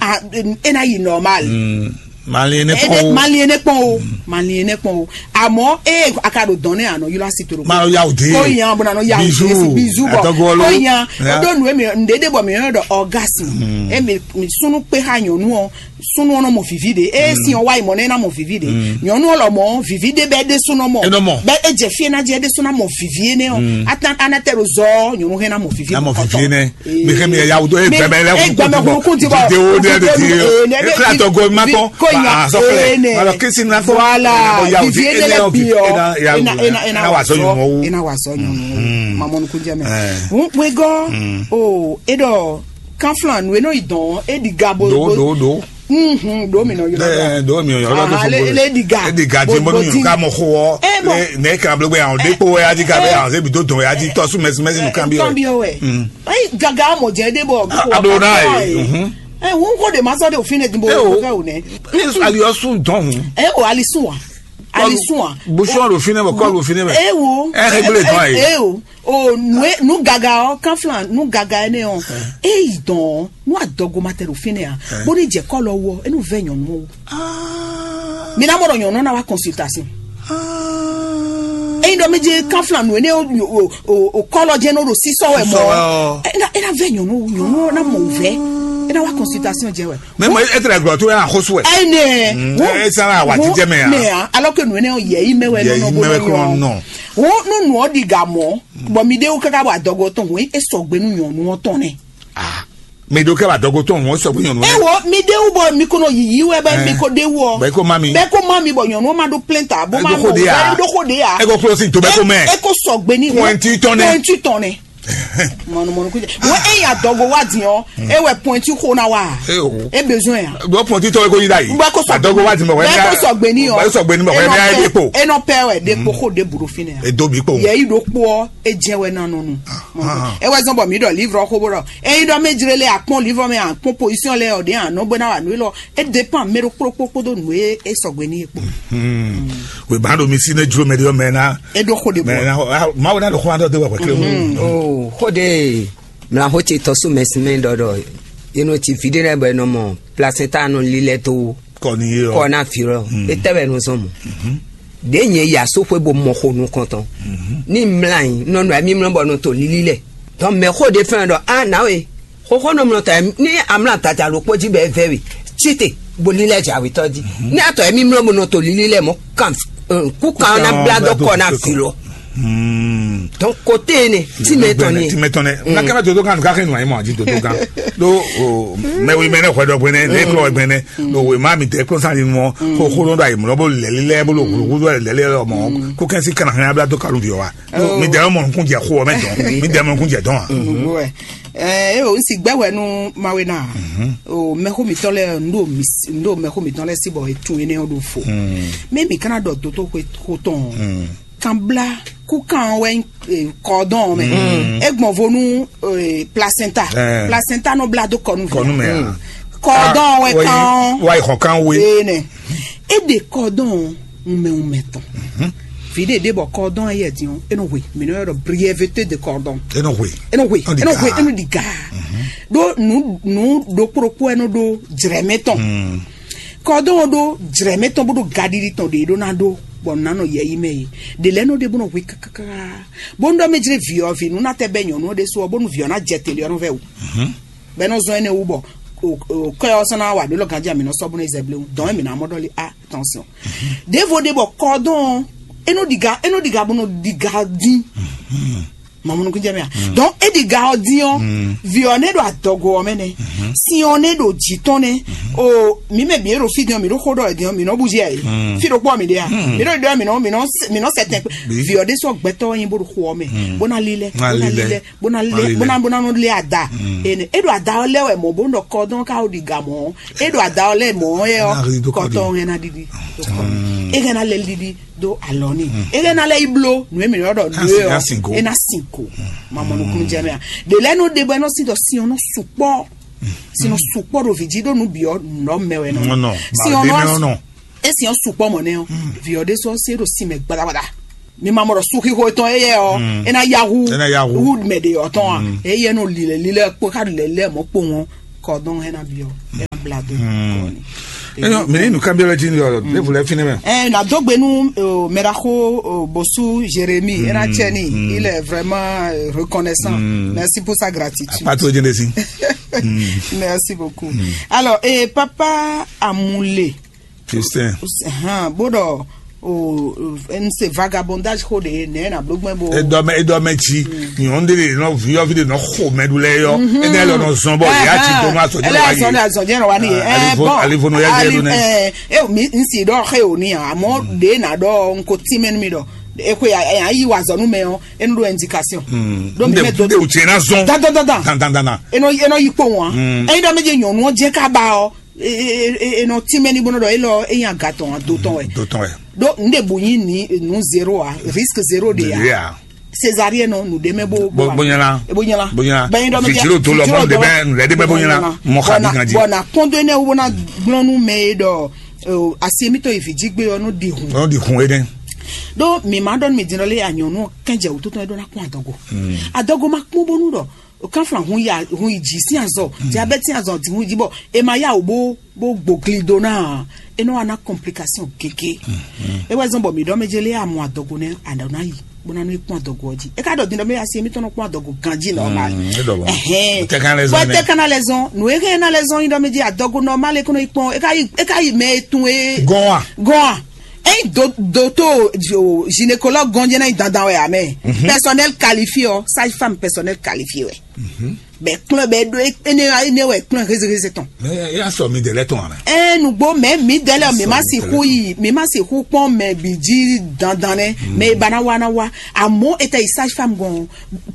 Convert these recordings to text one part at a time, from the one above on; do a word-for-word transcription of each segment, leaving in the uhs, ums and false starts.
a- e ná yi normal. Malin ne kpɔn o. Malin ne kpɔn o. Malin ne kpɔn o. Àmọ́ e a ka ɖo dɔn ne a nɔ ylɔ asi to ɖo. Ma nɔ yawu de. Ko yan bɔ na nɔ yawu de. Bizu, bizu bɔ. Ko yan. O ɖo nu emi nɖe ɖe bɔ mi yɔn ɖɔ orgasme. Emi mi sunu kpe ha nyɔnu ɔ, sunu ɔnɔ mɔ vivi de. E si ɔ wa yi mɔ ne na mɔ vivi de. Nyɔnu ɔ lɔ mɔ vivi de bɛ de sunu mɔ. Enɔ mɔ. Bɛ e jɛ fi na jɛ de sunu mɔ vivi ne ɔ. Atan anatɛ ɖo zɔ nyɔnu hɛn na mɔ vivi. Na mɔ vivi ne. Mi hɛn mi ya wudo e gbɛmɛ lɛ kun ti bɔ. Video de de ti. E kla tɔ go ma tɔ. Ko nya. Sɔfɛ. Malo kisi na tɔ. Voilà. Vivi ne lɛ bi ɔ. Ena wa sɔ nyɔmɔ. Ena wa sɔ nyɔmɔ. Mamɔnu kunjɛ mɛ. Wegɔ. O e dɔ kanflan nu e nɔ yi dɔn e di ga bo. Do do do. Ɖo mi nɔ yɔrɔ. Ɖo mi nɔ yɔrɔ. Aha, le le diga. Diga di mo nu ka mo xo. Eh, bon. Ne ka blo gbe awon de po ya di ka be awon se bi do don ya di to su mesi mesi nu kan bi o. Kan bi o we. Ai gaga mo je de bo. Ablo na e. Eh, won ko de ma so de ofin de bo ko fe o ne. Is ali osu don. Eh, o ali sun wa. Ali sun wa. Bushon do fine bo ko do fine be. Eh, wo. Eh, regle don ai. Eh, o. O nu e nu gaga ɔ kanflan nu gaga ɛnɛ ɔ eyi dɔn nu adɔgo ma tɛ ɖo fínɛ a bó ní jɛ kɔlɔ wɔ enu vɛ nyɔnu o. Mi na mɔ ɖɔ nyɔnu na wa consultation. Eyi dɔ mi je kanflan nu ene o o o kɔlɔ jɛ n'o ɖo sisɔ wɛ mɔ. Ena ena vɛ nyɔnu nyɔnu na mɔ vɛ ena wa consultation jɛ wɛ. Mɛ mɔ e tɛlɛ glɔ to ya xosu wɛ. Ɛnɛ. E sara wa ti jɛ mɛ ya. Mɛ ya alors que nu ene o yɛ yi mɛ wɛ nɔ bó nɔ. Wo nu nu ɔ di ga mɔ. Bɔ mi ɖe wo kaka bɔ adɔgo tɔn hɔn e sɔgbe nu nyɔnu ɔ tɔn nɛ. Mi ɖo kɛ ba dɔgo tɔn hɔn sɔgbe nyɔnu nɛ. Ewo mi ɖe wo bɔ mi ko nɔ yiyi wɛ bɛ mi ko ɖe wo. Bɛ ko ma mi. Bɛ ko ma mi bɔ nyɔnu ma ɖo plɛnta bɔ ma nɔ wɛ ɖo ko ɖe ya. E ko klo si to bɛ ko mɛ. E ko sɔgbe ni. Pɔnti tɔn nɛ. Pɔnti tɔn nɛ. Mɔnu mɔnu kujɛ. Wo e ya dɔgo wa di ɔ. E wɛ pɔnti ko na wa. E besoin ya. Bɔ pɔnti tɔn e ko yi da yi. Bɛ ko sɔgbe. Adɔgo wa di mɛ wɛ. Bɛ ko sɔgbe ni ɔ. Bɛ sɔgbe ni mɛ wɛ. E nɔ pɛ wɛ de ko ko de buru fi nɛ. E do bi kpo. Yɛ yi ɖo kpɔ e jɛ wɛ na nɔ nu. Ewɛ zɔn bɔ mi ɖɔ livre xo bó ɖɔ eyi ɖɔ mɛ jire lɛ akpɔn livre mɛ akpɔn position lɛ ɔdi anɔ gbɛ na wa nu lɔ e dépend mɛ ɖo kplokplo kpodo nu e e sɔgbe ni kpo. Weba ɖo mi si ne jlo mɛ ɖe mɛ na. E ɖo xo de bɔ. Mawu na ɖo xo adɔ de wɛ kle. O xo de mla xo ce tɔsu mɛ si mɛ ɖɔ ɖɔ yenu ti vi ɖe lɛ bɔ enɔ mɔ placenta nɔ lilɛ to kɔ ni ye ɔ. Kɔ na fi lɔ. Etɛ bɛ nɔ zɔn mɔ. Ɖe nyɛ yi aso xwe bo mɔ xo nukɔntɔn. Ni mla yi nɔ nɔ mi mlɔ bɔ nɔ to lili lɛ. Donc mɛ xo de fɛn dɔ a na we. Xoxo nɔ mlɔ ta ni amla tata lo kpo ji bɛ vɛ we. Tsite bo lilɛ ja we tɔ ji. Ni atɔ mi mlɔ bo nɔ to lili lɛ mɔ kan ku kan na bla dɔ kɔ na fi lɔ. Donc kote ne ti mɛ tɔn ne. Ti mɛ tɔn ne. Na kɛmɛ dodo kan ka kɛ nu ayi mɔ aji dodo kan. Do o mɛ wi mɛ ne xɔ dɔ gbɛnɛ ne kɔ gbɛnɛ. Do o ma mi tɛ kɔ sa ni mɔ ko ko do ayi mɔ bo lɛli lɛ bo lo ko do lɛli lɛ mɔ ko kɛn si kana hɛn abla to kalu di wa. Mi dɛ mɔ kun jɛ xo mɛ dɔn. Mi dɛ mɔ kun jɛ dɔn wa. Ɛ o si gbɛ wɛ nu mawe na. O mɛxo mitɔn lɛ ndo mi ndo mɛxo mitɔn lɛ si bɔ etu ene o do fo. Mɛ mi kana dɔ toto ko tɔn. Kan bla kukan wɛ kɔdɔn mɛ. E gbɔn vo nu placenta. Placenta nɔ bla do kɔnu. Kɔnu mɛ. Kɔdɔn wɛ kan. Wa yi xɔ kan we. Ee nɛ. E de kɔdɔn wumɛ wumɛ tɔn. Vide de bɔ kɔdɔn yɛ diɔn e nɔ hwe mi nɔ yɔrɔ brièveté de kɔdɔn. E nɔ hwe. E nɔ hwe e nɔ hwe e nɔ di ga. Do nu nu do kpokpo e nɔ do jrɛmɛ tɔn. Kɔdɔn ɖó jlɛ̌ mɛ tɔn bó ɖo gaɖiɖi tɔn ɖě ɖó ná ɖó bɔ nǔ ná nɔ yɛ yi mɛ yi. Ɖě lɛ́ɛ nɔ ɖe bó nɔ hwe kákáká. Bónú ɖɔ mɛ jlé vǐ ɔ́ vǐ nú ná tɛ bɛ́ nyɔ̌nu ɔ́ ɖésú ɔ́, bónú vǐ ɔ́ ná jɛ te lé ɔ́ nɔ vɛ́ wǔ. Bɔ é nɔ zɔ́n énɛ́ wú bɔ kɔ́ ɔ́ sɔ́ ná wá ɖó lɔ ganjí amǐ nɔ sɔ́ bó nɔ yi zɛ bléwún. Dɔ̌n émí ná mɔ ɖɔ lé a attention. Ɖěvo ɖé bɔ kɔdɔn ɔ́, é nɔ ɖiga é nɔ ɖiga bó nɔ ɖiga dín. Mamunu kun jɛ mɛ a. Donc e ɖi ga ɔ din ɔ, vi ɔ ne ɖo adɔgo ɔ mɛ nɛ, si ɔ ne ɖo dzi tɔn nɛ. O mi mɛ bi e ɖo fi din ɔ, mi ɖo xo ɖɔ ɛ din ɔ, mi nɔ bu jɛ yi fi ɖo kpɔ mi ɖe a, mi ɖo ɖɔ mi nɔ mi nɔ mi nɔ sɛ tɛn kpe. Vi ɔ ɖe sɔ gbɛtɔ yin bo ɖo xo ɔ mɛ, bo na li lɛ, bo na li lɛ, bo na lɛ, bo na bo na nɔ lɛ ada. Ene e ɖo ada ɔ lɛ wɛ mɔ bo nɔ kɔ dɔn ka o ɖi ga mɔ, e ɖo ada ɔ lɛ mɔ yɛ ɔ, kɔtɔ ɛ na ɖiɖi, e hɛn na lɛ ɖiɖi. Do alɔ ni. E lɛ na lɛ yi blo nu emi yɔ dɔ nu e ɔ e na sin ko. Mamɔ nukun jɛ mɛ a. De lɛ no de bɔ e nɔ si dɔ si ɔnɔ sukpɔ. Si nɔ sukpɔ do vi ji do nu bi ɔ nɔ mɛ wɛ nɔ. Si ɔnɔ e si ɔn sukpɔ mɔ nɛ ɔ. Vi ɔ de sɔ se do si mɛ gbadagbada. Mi ma mɔ dɔ su xixo etɔn e yɛ ɔ e na yahu. E na yahu. Wu mɛ de ɔ tɔn a. E yɛ no lilɛ lilɛ kpo ka lɛ lɛ mɔ kpo ŋɔ. Kɔdɔn e na bi ɔ. Blague. Eyɔ, mɛ ni nukánbyɔ́lɔ jí ni ɔ, ɖěvo lɛ fínɛ́ mɛ. Ɛ na dó gbe nú mɛɖaxó Bosu Jérémie, é ná tsɛ ní, il est vraiment euh, reconnaissant. Merci pour sa gratitude. Pas trop de si. Merci beaucoup. Alors, et papa Amoulé, Justin. Hàn bó ɖɔ o n se vagabondage xó ɖe nɛ na bló gbɛn bo. Edɔmɛ edɔmɛ tsi nyɔnu ɖe nɔ viyɔvi ɖe nɔ xo mɛ ɖu lɛ yɔ. Ene lɔ nɔ zɔn bɔ ya tsi dɔn ma sɔ jɛ wa yi. Azɔn azɔn jɛ wa ni ye. Ɛ Alivo- bɔn Alivo nɔ ya jɛ ali- ɖo nɛ. Ɛ e mi n si ɖɔ xe o ni a amɔ ɖe na ɖɔ n ko ti mɛ mi ɖɔ e ko ya ya yi wa zɔnu mɛ ɔ enu ɖo indication. Ɖo mi mɛ do Nde o tiɛ na zɔn. Dandan dandan. Dandan dandan. Enɔ enɔ yi kpɔn wa. Eyi ɖɔ mi dze nyɔnu ɔ jɛ ka ba ɔ. Enɔ tínmɛ ní bó nɔ ɖɔ élɔ́ é nyí aga tɔn ado tɔn wɛ. Dó tɔn wɛ. Ɖó nǔɖé bǔ nyí ní nǔ zéro a, risque zéro ɖe Ɖe a. A. Césarienne nɔ nǔɖé mɛ bó Bó- bó nyala. Bó nyala. Bó nyala. Bɛn dɔ mɛ Fitiri o to lɔ mɔ nɖe bɛ nɖe bɛ bó nyala. Mɔ xa di kan di. Bɔn na kɔn dó énɛ́ wó ná gblɔ́n nú mɛ e ɖɔ asi émítɔn yi vǐ jí gbé ɔ́ nú ɖi hùn. Ɔn di hun ene. Ɖó mi ma ɖɔ nú mi din ɖɔ lé anyɔnu kɛnjɛ wútu tɔn e ɖó ná kún adɔgo. Adɔgo ma kpɔn bónú ɖɔ kanflan hun ya hun yi dzi sín azɔ diabɛti sín azɔ ti hun yi dzi bɔ e ma ya wò bó bó gbogli do ná e nɔ wa ná complication gege. E wɛ zɔn bɔ mi ɖɔ mɛ jɛ lé amɔ adɔgo nɛ aɖɔ ná yi bó ná nɔ kpɔn adɔgo ɔdzi e ka ɖɔ din ɖɔ mɛ asi mi tɔn nɔ kpɔn adɔgo ganji normal. Ɛhɛn. Bɔ tɛ kan lɛ zɔn nɛ. Tɛ kan lɛ zɔn nu e hɛn na lɛ zɔn yi ɖɔ mɛ jɛ adɔgo normal e kɔnɔ yi kpɔn e ka yi e ka yi mɛ etun e Gɔn wa. Gɔn wa. Eyi do doto gynécologue gɔnjɛ na yi dandan wɛ amɛ. Personnel qualifié ɔ sage femme personnel qualifié wɛ. Bɛ kplɔn bɛ ɖo ene ene wɛ kplɔn hezeheze tɔn. Mɛ ya sɔ mi dɛlɛ tɔn amɛ. Ɛɛ nugbo mɛ mi dɛlɛ mi ma si hu yi mi ma si hu kpɔn mɛ bi ji dandan nɛ mɛ ba na wa na wa amɔ e tɛ yi sage femme gɔn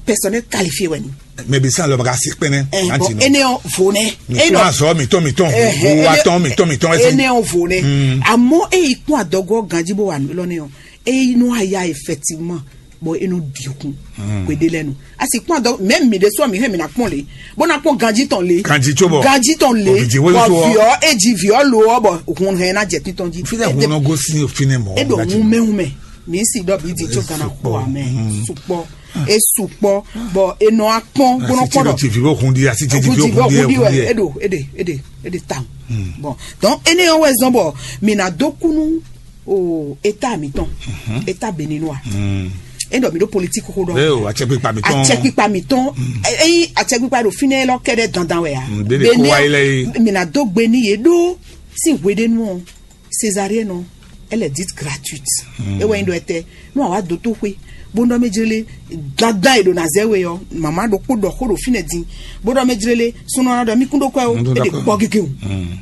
personnel qualifié wɛ ni. Mɛ bi san lɔ ba ka si kpɛnɛ. Ɛɛ bɔn ene ɔ vo nɛ. Mi kún azɔ mi tɔn mi tɔn vo wa tɔn mi tɔn mi tɔn ɛsɛ. Ene ɔ vo nɛ amɔ eyi kún adɔgɔ ganji bo wa lɔ ne ɔ eyi nɔ aya effectivement. Bɔ e nɔ ɖi kun gbede lɛ nu a sì kpɔn dɔ mɛ mi ɖe sɔ mi hɛn mi na kpɔn le bó na kpɔn ganji tɔn le Ganji tso bɔ. Ganji tɔn le Bɔ vijì wele bɔ so ɔ. Viɔ e dzi viɔ lo ɔ bɔ hun hɛn na jɛ titɔn ji. Fi lɛ hun nɔ gosi fi nɛ mɔ. E ɖo hun mɛ hun mɛ mi si dɔ bi di tso gana kó amɛ sukpɔ e sukpɔ bɔ e nɔ akpɔn gbɔnɔ kpɔn dɔ. Ti vi bɛ hun di asi ti vi Hun ti bɛ bɛ hun di hun di ɛ wɛ e ɖo e ɖe e ɖe e ɖe ta. Bɔn donc ene yɔ wɛ zɔn bɔ mi na do kunu o état mi tɔn état béninois e ɖɔ mi ɖo politique xo ɖɔ Ee o, atsɛkpikpa mi tɔn. Atsɛkpikpa mi tɔn eyi atsɛkpikpa ɖo fínɛ lɔ kɛɖɛ dandan wɛ ya Ɖe ɖe kó wáyé lɛ yi. Mina do gbe ni ye ɖo si hweɖenu ɔ césarienne ɔ elle est dite gratuite e wɛ nyi ɖɔ ɛtɛ nu awa do to xwe bó nɔ mɛ jele dandan e ɖo na zɛ we ɔ mama ɖokpo ɖɔ xo ɖo fínɛ din bó nɔ mɛ jele sunɔ na ɖɔ mi kún ɖo kɔ o e ɖe kpɔ gege o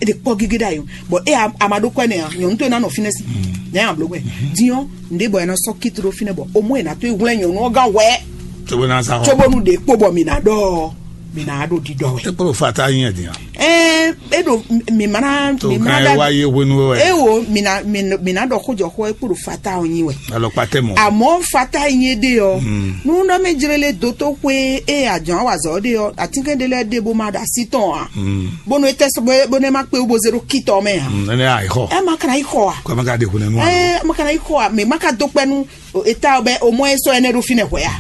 e ɖe kpɔ gege ɖa yi o bɔn e ama ɖo kɔ ɛnɛ ya nyɔnu to e na nɔ fínɛ si ne ya blo gbɛ diɔ nde bɔ e na sɔ kitu ɖo fínɛ bɔ o mɔ e na to e hwlɛ nyɔnu ɔ gán wɛ Tsobo na sa xɔ. Tsobo nu ɖe kpo bɔ mi na ɖɔ mi na ɖo ɖiɖɔ wɛ. Ekpolo fata nyi ɛdi ya. Ɛɛ e ɖo mi ma na To mi ma kan na e wa ye hwenu wɛ. E wo mi na mi na- mi na ɖɔ xojɔ xɔ e kpo ɖo fata ɔ nyi wɛ. Alɔkpa tɛ mɔ. Amɔ fata nyi ɖe ɔ nu nɔ mi jrele doto xwe e adzɔn awazɔ ɖe ɔ atinkɛ ɖe lɛ ɖe bo ma ɖo asi tɔn a bonu e tɛ sɔgbɔ bonu e ma kpe wo bo ze ɖo kitɔ mɛ a Nene ayi xɔ. Ɛ ma kana yi xɔ a Kɔmi ka de hwenu nua. Ɛ ma kana yi xɔ a mi ma ka do kpɛ nu eta bɛ o mɔ e sɔ ɛnɛ ɖo fi nɛ hwɛ a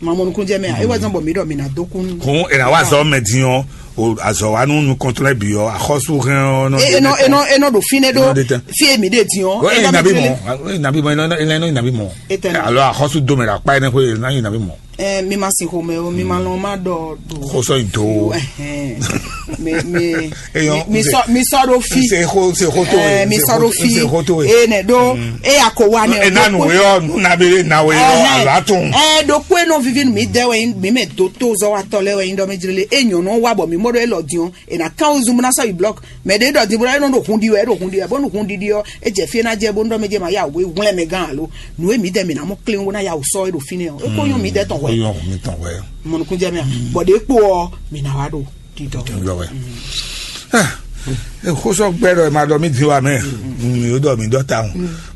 ma mɔ nukun jɛ mɛ a e wa zɔn bɔ mi ɖɔ mi na do kun Kun ena wa zɔ mɛ din ɔ o azɔ wa nu nu kɔntɔlɛ bi ɔ axɔsu hɛn ɔ nɔ. E nɔ e nɔ e nɔ ɖo fi nɛ Nɔ ɖe ɖo tɛ. Fi e mi ɖe din ɔ Ɔ e yin nabi mɔ e yin nabi mɔ e nɔ e nɔ yin nabi mɔ. Etɛ nɔ. Alo axɔsu do mɛ ɖo akpa yi ne ko e nɔ yin nabi mɔ. Ɛ mi ma sin xomɛ o mi ma lɔn ma ɖɔ do. Xosɔ yi do. Ɛhɛn. Mi mi Eyɔn, mi sɔ mi sɔ ɖo fi. Se xo se xo to Ɛ ye. Mi sɔ ɖo fi. Se xo to ye. Eye nɛ ɖo eya ko wa nɛ. E na nu we yɔ nu na be na we yɔ alo atun. Ɛ ɖokpo e nɔ vivi nu mi dɛ wɛ mi mɛ do to zɔ wa tɔ lɛ wɛ nyi ɖɔ mi jlele e nyɔnu wa bɔ mi mɔ ɖo e lɔ diɔn e na kan wo zun na sɔ yi blɔk mɛ ɖe ɖɔ di bo ɖɔ e nɔ ɖo hun ɖi wɛ e ɖo hun ɖi wɛ bɔnu hun ɖiɖi ɔ e jɛ fi e na jɛ bɔnu ɖɔ mi jɛ ma ya wo hwlɛn mɛ gán alo nu e mi dɛ mi na mɔ klen wo na ya wo sɔ e ɖo fi nɛ ɔ e ko nyɔ mi dɛ tɔn hwɛ. Eyɔn mi tɔn wɛ. Mɔnukun jɛ mi a bɔ ɖe kpo ɔ mi na wa ɖo. Didɔ. Yɔ wɛ. Xosɔ gbɛ ɖɔ ma ɖɔ mi di wa mɛ mi o ɖɔ mi ɖɔ ta o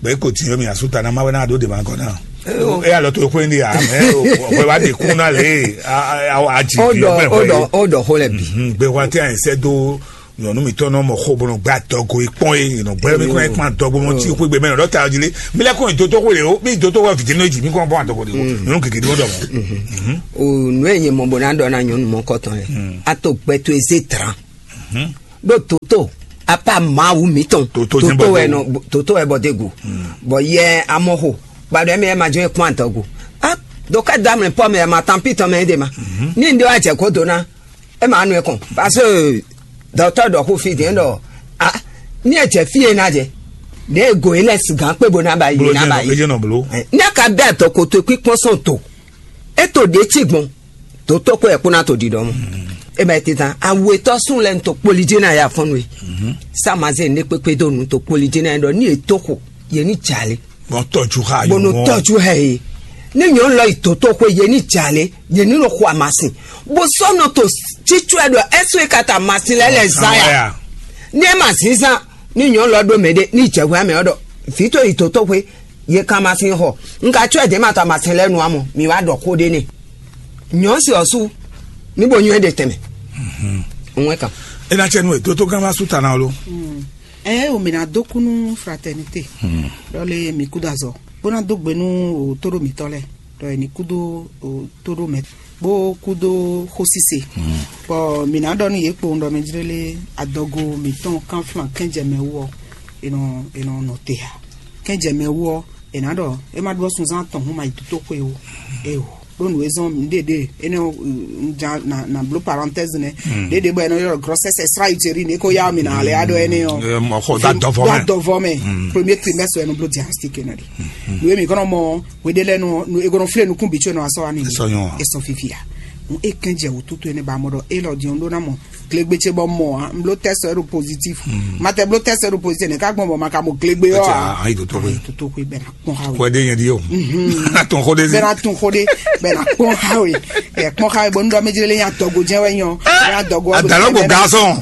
bɛ ko ti yɔ mi asu ta na ma wɛ na do de ma gɔ na e alɔ to ko ni a mɛ o wɛ wa de kun na le a a a ji o bi dɔ o gbɛ dɔ o dɔ xo lɛ bi. Gbe wa ti a sɛ do nyɔnu mi tɔn nɔ mɔ xo bɔnɔ gba dɔgo ikpɔn ye nɔ gbɛ mi kɔn ikpɔn dɔgo mɔ ti xo gbe mɛ nɔ ta ji le mi lɛ kɔn do to xo le o mi do to wɛ vijɛ nɔ ji mi kɔn bɔn dɔgo de o nyɔnu keke di o dɔ mɔ. O nu e nyɛ mɔ bo na ɖɔ na nyɔnu mɔ kɔtɔn yɛ a to gbɛ to eze tran. Ɖó toto apa Mawu mǐtɔn. Toto jɛ́n bɔ toto wɛ degu. Nɔ toto wɛ bɔ degu. Bɔ yɛ amɔxo gbadɔ ɛmɛ ma jɔ kpɔn atɔgu. A do ka da mɛ pɔ mɛ ma tan pitɔ mɛ de ma. Ni ndo a jɛ ko do na. E ma nu e kɔn. Parce que dɔtɔ dɔ ko fi de dɔ a ni e jɛ fi e na jɛ. Ne e go e lɛ sigan kpe bo na ba yi Bolo na jɛ́n ba nɔ yi. Ejɛ nɔ bolo. Ne ka bɛ dɔ ko to kpikpɔn sɔn to. E to ɖe ci gbɔn. Dotokpɔ́ yɛ kpó ná to ɖiɖɔ mɔ. E ma yi titán awetɔ sún lɛ to kpoli jí ná ya fɔ́n nú e. Sá ma zé ne kpékpé dó nu to kpoli jí ná ɖɔ ní e tó xo yě ní jalè. Bɔn tɔjú xa bó nú tɔjú hɛ e. Ní nyɔ̌nu lɔ yi dotokpɔ́ yě ní jalè yě ní nɔ xo amasin. Bó sɔ́ nɔ to tsítsú ɛ ɖɔ ɛsó e ka ta amasin lɛ lɛ zán ya. Ní ɛ ma zínzán ní nyɔ̌nu lɔ ɖó mɛ ɖé ní jɛhwɛ amɛ ɔ́ ɖɔ vǐ tó yi dotokpɔ́ yě kan amasin xɔ. Un ka tsɔ́ ɛ dě ma ta amasin lɛ́ɛ nu amɔ mi wá ɖɔ xó ɖé n'i. Nyɔ̌si ɔ́ su ní bo nywɛ́ ɖe tɛnmɛ. Nwe kan. E na cɛ nu e dótó gán ma sú ta na lo. Ɛ o mi na dó kú nú fraternité. Ɖɔ lé mi kú dó azɔ bó ná dó gbe nú o tóɖó mǐtɔn lɛ ɖɔ e ní kú dó o tóɖó mɛ bó kú dó xósíse. Bɔ mi ná ɖɔ nú yě kpowun ɖɔ mi jlé lé adɔgo mǐtɔn kánflán kɛnjɛ mɛ wú ɔ, e nɔ e nɔ nɔ te ǎ. Kɛnjɛ mɛ wú ɔ, è nǎ ɖɔ é má ɖó sunzán atɔn hún ma yi dótóxwe o. Eo ɖó nǔ e zɔ́n mǐɖeɖe énɛ́ ɔ́, un ja na na bló parenthèse nɛ́. Ɖěɖě bɔ è nɔ ylɔ́ grossesse extra-utérine é kó yá mǐ ná lɛ́ á ɖɔ énɛ́ ɔ́. Mɔxɔ dó adɔvɔ mɛ. Dó adɔvɔ mɛ. Premier trimestre wɛ nɔ bló diagnostic nɔ ɖi. Nǔ e mǐ kɔnɔ mɔ hweɖé lɛ́ɛ nɔ nǔ e kɔnɔ flé nukún bǐ có nɔ asɔ wá ní. Esɔ nyɔ. Esɔ fifia. Nǔ e kɛn jɛ wǔtútú énɛ́ ba mɔ ɖɔ élɔ́ din ɔ́ ɖó ná mɔ glegbe ce bɔ mɔ ǎ. Un bló tɛ́sɛ ɖo pozitif. Ma tɛ bló tɛ́sɛ ɖo pozitif nɛ́ ká gbɔn bɔ ma ka mɔ glegbe ɔ́ ǎ. Ayi tó tó xwe. Ayi tó tó xwe bɛn na kpɔn xa we. Kɔɛ de yɛn di o. Atɔn xɔ de si. Bɛn na tun xɔ de bɛn na kpɔn xa we. Ɛ kpɔn xa we bɔ nudɔ méjì lé yan dɔgo jɛ wɛ nyɔ. Yan dɔgo. Adalɔ ko gasɔn.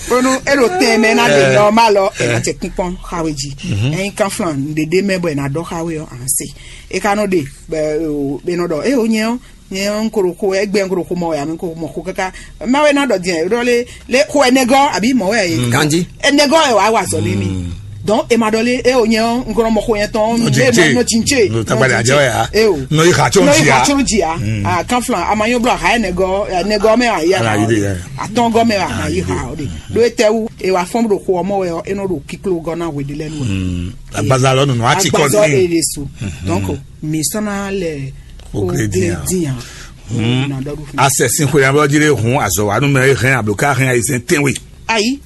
Bonu e ɖo tɛn mɛ na de nɔ ma lɔ e na tɛ kpɔn xa we ji. Ɛyin kan flan ɖeɖe mɛ bɔ e na dɔ xa we ɔ an se. E ka nɔ de bɛ o bɛ nɔ dɔ e o nyɛ ɔ. Nyɛ ŋkoro xo ɛgbɛ ŋkoro xo mɔ wɛ ami ŋkoro mɔ xo kaka. Ma wɛ na dɔ diɛ ɖɔ le le xo ɛnɛgɔ abi mɔ wɛ ye. Ganji. Ɛnɛgɔ wɛ wa wa zɔ le mi. Donc e ma dɔ le e o nyɛ ŋkoro mɔ xo yɛ tɔn. Nɔ jinche. Nɔ jinche. Nɔ tagbali ajɛ wɛ ya. E o. Nɔ yi xa tsɔn jia. Nɔ yi xa tsɔn jia. Ah kan flan a ma nyɔ blo ha ɛnɛgɔ ɛnɛgɔ mɛ a yi. Atɔngɔ mɛ a yi ha o de. Do e tɛ wu e wa fɔn do xo ɔmɔ wɛ e nɔ do kiklo gɔ na we de lɛ nu. Agbaza lɔ nunu ati kɔ. Agbaza e de su. Donc mi sɔn na lɛ. Ogledin. Asɛ sin xwe abɔ jire hun azɔ wa nu mɛ hɛn abloka hɛn ayi sɛn tɛnwe. Ayi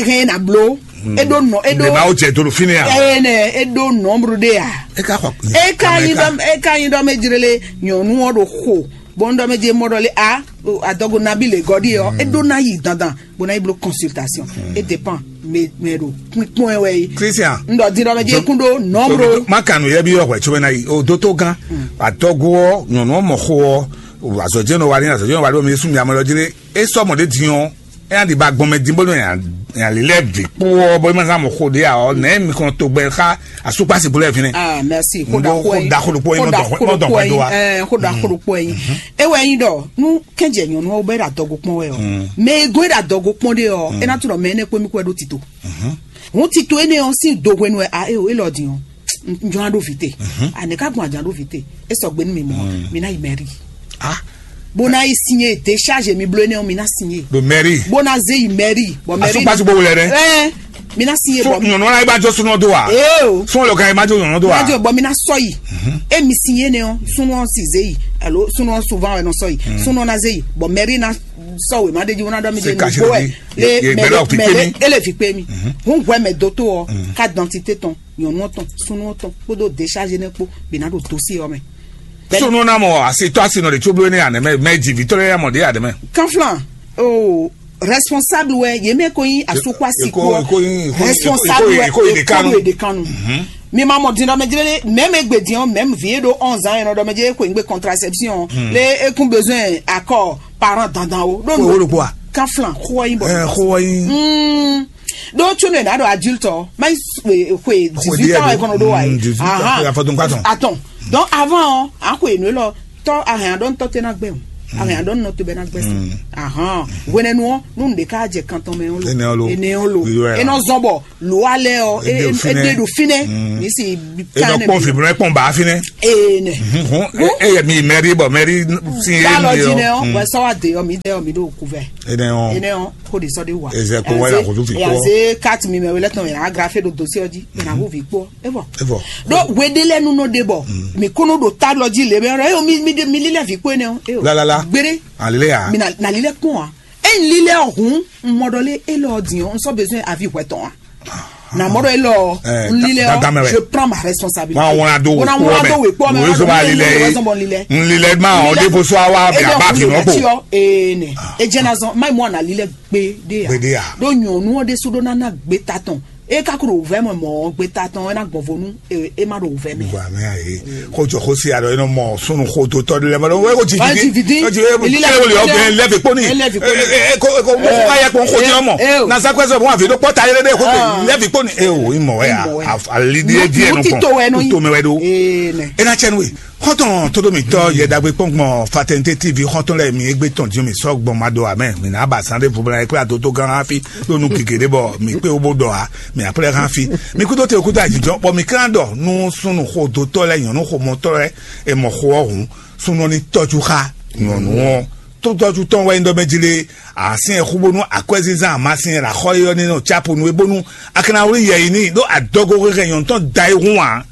hɛn na blo. Eɖo nɔ eɖo. Mɛ b'awo jɛ dolo fini ya. Ɛnɛ eɖo nɔmru de ya. E ka xɔ. E ka yin dɔ e ka yin dɔ mɛ jirele nyɔnu ɔ ɖo xo bɔn dɔ mɛ je mɔ dɔ le a adɔgo nabi le gɔdi yɔ eɖo na yi dandan. Bó ná yi bló consultation. E dépend mɛ mɛ ɖo kpínkpɔ́n ɛ wɛ yi. Christian. N ɖɔ din ɖɔ mɛ jɛ kún ɖó nɔmro. Ma kanu yɛ bi yɔ hwɛ tso mɛ na yi o dótó gán. Atɔgo ɔ nyɔnu ɔ mɔ xo ɔ azɔjɛ nɔ wa ni azɔjɛ nɔ wa ɖo mi sún mi amɔ lɔ jire e sɔ mɔ ɖe din ɔ e na di ba gbɔn mɛ din bó nɔ nya li lɛ vi kpó ɔ bó ma zan mɔ xo ɖe a ɔ nɛ mi kɔn to gbɛ xa asukpasi bó lɛ fi nɛ. Ah merci. Xo da xo ɛ xo da xo ɖokpo yin xo da xo ɖokpo yin xo da xo ɖokpo yin. E wɛ yin ɖɔ nu kɛnjɛ nyɔnu ɔ́ bɛ ɖo adɔgo kpɔn wɛ ɔ mɛ e gɔn e ɖo adɔgo kpɔn ɖe ɔ e na tunɔ mɛ énɛ́ kpó mí kpó wɛ ɖó tito. Hun tito énɛ́ ɔ́ sín do hwenu wɛ a é o élɔ́ din ɔ́ njɔn á ɖó vǐ te. Anɛ ká gbɔn ajǎn ɖó vǐ te. É sɔgbe nú mi mɔ mi ná yi mɛri. Bó ná yi signé décharge mi bló énɛ́ ɔ́ mi ná signé. Ɖo mɛri. Bó ná zé yi mɛri bɔ mɛri. Asukpasi gbogbo lɛ dɛ. Ɛɛ mi ná signé bɔ. Nyɔnu wala yi ba jɔ sunɔ do wa. Ee o. Sunɔ lɔ ka yi ma jɔ nyɔnu do wa. Má jɔ bɔ mi ná sɔ yi. E mi signé ne ɔ́ sunɔ ɔ́ sì zé yi alo sunɔ ɔ́ souvent wɛ nɔ sɔ yi. Sunɔ ná zé yi bɔ mɛri ná sɔ wema ɖe jí wona ɖɔ mi ɖe nugbo ɛ le mɛ le ele vi kpe mi. Hun hwɛ mɛ do to ɔ ka dantite tɔn nyɔnu tɔn sunu tɔn kpódó décharge ne kpo bi na ɖo dossier ɔ mɛ. Sunu na mɔ asi tɔ asi nɔ de tso blo ne anɛ mɛ mɛ dzi vitɔ ya mɔ de anɛ mɛ. Kanflan o responsable wɛ ye mɛ ko yin asukwa si ko responsable wɛ ko ye de kanu. Mi ma mɔ din ɖɔ mɛ jlɛ mɛ mɛ gbe din ɔ mɛ vi e ɖo onze ans yɛ nɔ ɖɔ mɛ jɛ ko yin gbe contraception le ekun besoin accord parent dandan o. Ɖo nu kaflan xɔ yin bɔ. Xɔ yin. Ɖo tso ne na ɖo adulte ɔ ma yi xwe dix-huit ans ɛ kɔnɔ ɖo wa yi. Atɔn donc avant ɔ a xwe nu lɔ tɔ ahɛn aɖɔ ntɔ tɛ na gbɛ o. Àwọn èèyàn ɖɔ nínú tó bɛ ná gbẹ́sẹ̀. Ahàn. Wẹ́nẹ́nu ɔ́, nínú ɖe ká jẹ kan tɔn mɛ ɔ́ lo. Énɛ́ ɔ́ lo. Énɛ́ ɔ́ lo. Wíwá. Énɛ́ ɔ́ zɔ́n bɔ lò á lɛ ɔ́. Édè òfin nɛ. Édè ɖo fínɛ́. Ní sì bí ká nɛ kpɔn bí. Fìbúrẹ́ kpɔn bá fínɛ́. Ee nɛ. Hɔn, e yɛ mi mɛri bɔ mɛri si ye. Bá lɔ mi jí nɛ ɔ́. Wɛ sɔ wa de ɔ mi dɛ ɔ mi ɖo kuvɛ. Énɛ́ ɔ́. Énɛ́ ɔ́ kó de sɔ de wa. Ezɛ kó wá yà kó tó fi kó. Yaze carte mi mɛ wele tɔn yà agrafe ɖo dossier ɔ́ jí. Yà kó vi kpó. E bɔ. E bɔ. Ɖo wede lɛ nu nɔ de bɔ. Mi kó nɔ ɖo ta lɔ jí le bɛ ɔ́. Eyo mi mi mi lílɛ vi kpó énɛ́ ɔ́. Eyo. Lalala. Gbére. Alile ya. Mi na na lílɛ kpɔn a. E n lílɛ ɔhun n mɔ ɖɔ lé e lɔ din ɔ́ n sɔ besoin avi hwɛ tɔn a. Na mɔ ɖɔ e lɔ n lílɛ ɔ́ je prends ma responsabilité. Wọn wọn ado wò kpɔ mɛ wọn ado wò kpɔ mɛ wọn ado wò kpɔ mɛ lílɛ. N lílɛ ma ɔn de fo so awa bɛ a ba fi nɔ kpo. Ee nɛ e jɛ na zɔn mayi mɔ na lílɛ gbe de ya. Gbe de ya. Ɖo nyɔnu ɔ́ de su ɖo nana gbe ta tɔn e ka ko ɖo wòvɛ mɔ mɔ gbe ta tɔn e na gbɔn vo nu e ma ɖo wòvɛ mɛ. Wà mí àyè. Kó jọ kó sí àlọ́ iná mọ súnú kó tó tọ́ lẹ́mọ́ lọ́wọ́ kó ti fi dín. Kó ti fi dín. Kí ló lè ọgbẹ́ lẹ́fì pọ́nì. Lẹ́fì pọ́nì. Kó kó mú kó káyà kó kó ní ọmọ. Na sákúrẹ́sì ọ̀bùn àfi ló pọ́ ta yẹlẹ́dẹ́ kó tó lẹ́fì pọ́nì. E o ìmọ̀ wẹ́ yà. Àlídí ẹ díẹ̀ nù kàn. Títò ẹ nọ yìí. Tó mẹ́wẹ́ dó. Ẹ ná cẹ́nu wè. Xɔ́ntɔn tóɖómítɔ́ yɛɖagbe kpɔ́ngbɔn Fraternité T V xɔ́ntɔn lɛ́ɛ mi égbé tɔn dín mi sɔ́ gbɔn ma ɖo amɛ mi ná ba sán ɖé vubla é kplá dótó gán hafi ɖó nú gěgé ɖé bɔ mi kpé wó bó ɖɔ ǎ. Mi aplɛ hán fí. Mi kúdó te kúdó ajijɔ bɔ mi klán ɖɔ nú súnnu xodótɔ́ lɛ́ɛ nyɔ̌nu xomɔtɔ́ lɛ́ɛ è mɔ xo ɔ́ hǔn súnnu ɔ́ ní tɔ́jú xá nyɔ̌nu ɔ́. Tó tɔ́jú tɔn wɛ nyí ɖɔ mɛ jí lé. Asín ɛ xú bónú akwɛ́zínzán amasin ɛ là xɔ é ɔ́ ní nɔ tsápo nú é bónú a ka ná wlí yɛ yi n'i ɖó adɔgo xexɛ nyɔ̌nu tɔn da é hún ǎ.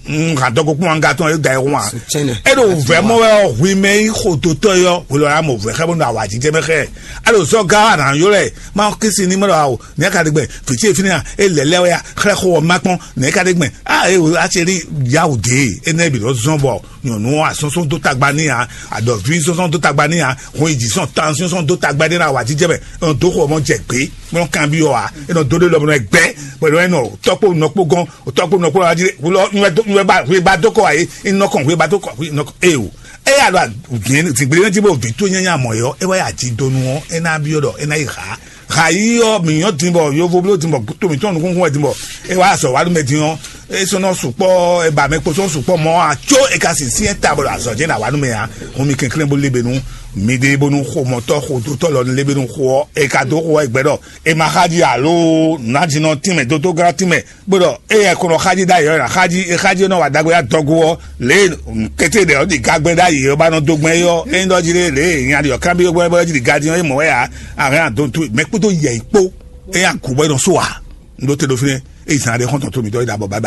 Hǔn hǎn dɔkun kpɔ́n anga tɔn e da ɛ hun a. Sutɛnɛ. E ɖo vɛ̌ mɔ wɛ ɔ́, hwi mɛ yi xo dotɔ yi ɔ́, hwi lɔ ná mɔ vɛ̌ xɛ bónú awǎjijɛ mɛ xɛ. A ɖo zɔ gá wa nǎ ylɔ́ ɛ, ma kisi ní mɛ ɖɔ awo, nɛ̌ ka ɖe gbɛ, vǐ ce fínɛ́ a, e lɛ̌ lɛ́ wɛ a, xlɛ́ xo ɔ́ ma kpɔ́n, nɛ̌ ka ɖe gbɛ, a e a ce ɖi yawu dě, énɛ́ bǐ nɔ zɔ́n bɔ nyɔ̌nu asɔ́nsɔ́n dó tagba n'i ǎ, adɔ̌ví sɔ́nsɔ́n dó tagba n'i ǎ, hun yi jǐ sɔn tan sɔ́nsɔ́n dó tagba n'i ná awǎjijɛ mɛ, e nɔ dó xo ɔ́ mɔ jɛ gbě, bó nɔ kanbyɔ́ ǎ, e nɔ dó ɖé lɔ bó nɔ gbɛ, bɔ è nɔ tɔ́kpó nɔkpó gɔ́n, o tɔ́kpó nɔkplɔ́ ɔ́ jí wulɔ nywɛ ba hwe ba dó kɔ wá yé nɔ kɔn hwe ba dó kɔ hwe nɔ kɔn eye o. Eya ɖo zǐngbléwé jí bó vǐ tó nyanya mɔ yɔ é wá yà jí dó nu ɔ́ é ná byɔ́ ɖɔ é ná yi ha ha yí ɔ́ mǐ nyɔ́ din bɔ yovo bló din bɔ to mǐtɔn nukúnkún wɛ din bɔ é wá azɔ wá nú mɛ din ɔ́ é sɔ́ nɔ sukpɔ́ é ba mɛ kpo sɔ́ sukpɔ́ mɔ a có é ka sin syɛ́n ta bɔ ɖo azɔ jɛ ná wá nú mɛ ǎ. Hun mi kɛnklɛ́n bó lé be nú mi ɖe bónú xomɔtɔ́ xodótɔ́ lɔ lé be nú xo ɔ́ é ka dó xo ɔ́ é gbɛ ɖɔ é ma xá jí alo nǎjínɔ tínmɛ dódógán tínmɛ bó ɖɔ éyɛ́ kó nɔ xájí ɖ'ayǐ ɔ́, xájí xájí nɔ wa ɖagbe adɔgo ɔ́, lě kété ɖɛ ɔ́ ɖi gagbɛ ɖ'ayǐ ɔ́ ba nɔ dó gbɛn é ɔ́, é nyí ɖɔ jí lé lě nya ɖi ɔ́ kábí gbɛ́ bɔ jí ɖi gadi ɔ́, é mɔ wɛ ǎ, ahɛn adontu mɛ kpódó yɛ yi kpó, é nya gǔ bɔ é nɔ só ǎ. Un ɖó te ɖo fínɛ́, é yi zan ɖé xɔ́ntɔn tó mǐtɔn é ɖa bɔ báyìí.